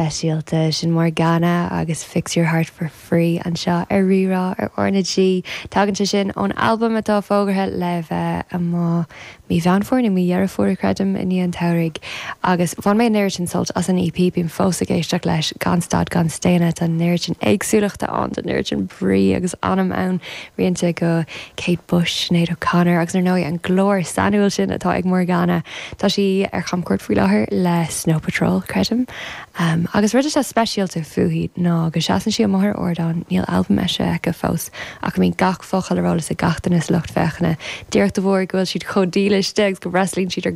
Speisialta. Sin Morgana agus Fix Your Heart For Free anseo ar Rí-Rá ar R na G. Tagann sé sin ón albam atá fógartha le bheith amuigh mí Mheán Fómhair nó mí Dheireadh Fómhair, creidim, i ndiaidh an tsamhraidh. Agus bhain mé an oiread sin sult as an EP, bím fós ag éisteacht leis gan stad gan staonadh. Tá an oiread sin éagsúlachta ann, tá an oiread sin brí agus anam ann, rianta go Kate Bush, Sinéad O'Connor agus ar ndóigh an glór sainiúil sin atá ag Morgana. Tá sí ar chamchuairt faoi láthair le Snow Patrol, creidim. Agus rud atá speisialta fúithi ná go seasann sí amuigh ar ardán, níl albam eisithe aici fós, ach go mbíonn gach focal ar eolas ag gach duine sa lucht féachana, díreach de bharr go bhfuil siad chomh dílis di agus go bhfreastalaíonn siad ar.